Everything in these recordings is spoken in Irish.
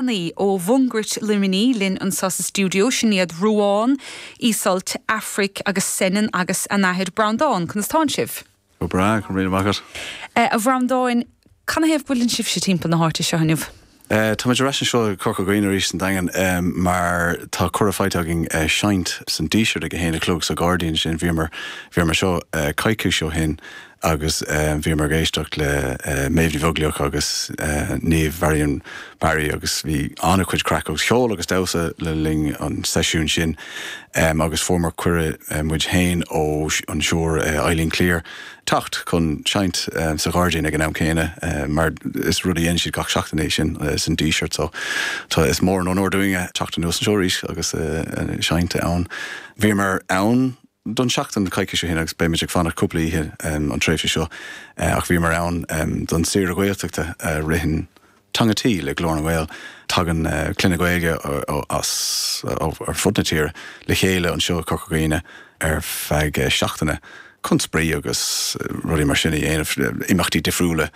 Leanaí ó Mhungairt Luimnigh linn anseo sa stiúideo. Sin iad Ruán, Iseult, Aifric agus Senan agus a n-athair Breandán. Conas tánn sibh? Go breá, go raibh míle maith agat. A Bhreandáin, canathaobh go bhfuileann sibhse timpeall na háite seo inniu? Tá muid ar ais anseo i gCorca Dhuibhne arís san Daingean mar tá cuireadh faighte againn seinnt san Díseart ag 1 a chlog sa ghairdín sin. Bhíomar bhíomar anseo coicís ó shin agus bhíomar ag éisteacht le Méabh Ní Bheaglaoich agus Niamh Varian Barry agus bhí an-chuid craic agus ceol agus damhsa le linn an seisiúin sin agus fuaireamar cuireadh muid féin ó an Siúr Eileen Cleere teacht chun seinnt sa ghairdín ag an am céanna mar is rud a dhéanann siad gach seachtain é sin san Díseart so tá is mór an onóir dúinn teacht anuas anseo arís agus seinnt ann. Bhíomar ann don seachtain coicís ó shin agus beimid ag fanacht cúpla oíche an tréimhse seo ach bhíomar ann don saoire Ghaeltachta a ritheann Teanga Tí le Glór na nGael. Tagann clanna Gaeilge as ar fud na tíre le chéile anseo i Corca Dhuibhne ar feadh seachtaine chun spraoi agus rudaí mar sin a dhéanamh, imeachtaí difriúla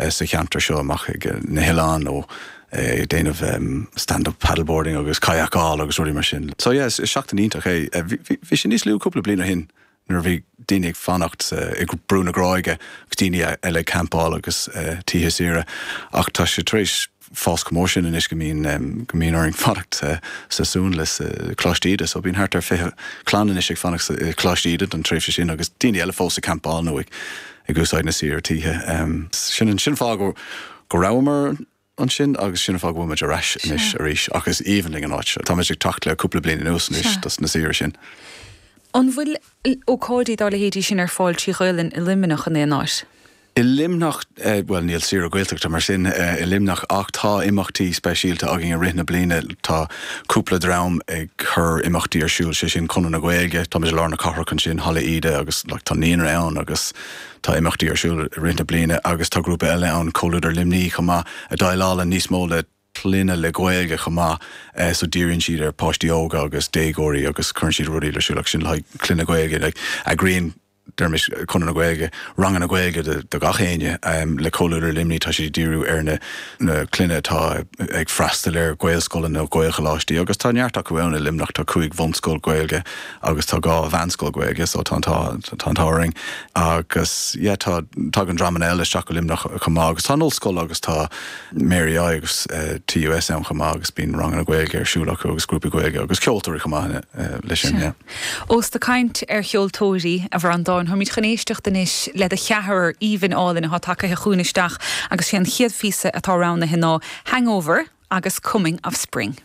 sa cheantar seo amach ag na hoileáin nó ag déanamh stand up paddleboarding agus kayakáil agus rudaí mar sin. So yeah, is seachtain iontach é. Bhí sé níos lú cúpla bliain ó shin nuair a bhí daoine ag fanacht i Brú na Gráige agus daoine eile ag campáil agus tithe saoire ach tá sé tar éis fás chomh mór sin anois go mbíonn go mbíonn orainn fanacht sa Suanlios i Coláiste Íde. So bíonn thart ar 20 clann anois ag fanacht i Coláiste Íde don tréimhse sin agus daoine eile fós ag campáil nó ag ag úsáid na saoire tithe. Sin an sin fáth go go rabhamar ansin agus sin an fáth go bhfuil muid ar ais anois arís ach is aoibhinn linn an áit seo. Táimid ag teacht le cúpla bliain anuas anois dos na saoire sin. An bhfuil ócáidí dá leithéidí sin ar fáil trí Ghaelainn i Luimneach in aon áit? I Luimneach, bhuel níl saoire Gaeltachta mar sin i Luimneach ach tá imeachtaí speisialta againn i rith na bliana. Tá cúpla dream ag cur imeachtaí ar siúl, sé sin Conradh na Gaeilge, táimid i lár na cathrach ansin, Halla Íde agus like tá naíonra ann agus tá imeachtaí ar siúl i rith na bliana agus tá grúpa eile ann, Comhluadar Luimnigh chomh maith, a déileálann níos mó le clainne le Gaeilge chomh maith so díríonn siad ar páistí óga agus déagóirí agus cuireann siad rudaí ar siúl ach sin le haghaidh clainne Gaeilge like eagraíonn deirimis, Conradh na Gaeilge, ranganna Gaeilge do gach éinne. Le Comhluadar Luimnigh tá siad ag díriú ar na na clainne atá ag freastal ar Ghaelscoileanna nó Gaelcholáistí agus tá neart acu ann i Luimneach, tá 5 bhunscoil Ghaeilge agus tá 2 mheánscoil Ghaeilge so tá an t-ádh tá an t-ádh orainn agus yeah tá tagann dreamanna eile isteach go Luimneach chomh maith agus tá an ollscoil agus tá Mary I agus TUS ann chomh maith agus bíonn ranganna Gaeilge ar siúl acu agus grúpaí Gaeilge agus ceoltóirí chomh maith leis sin, yeah. Ós tú ag caint ar cheoltóirí, a Bhreandáin, táimid chun éisteacht anois le do cheathrar aoibhinn álainn atá tagaithe chugainn isteach agus sé an chéad phíosa atá roghnaithe ná 'Hangover' agus 'Coming of Spring'.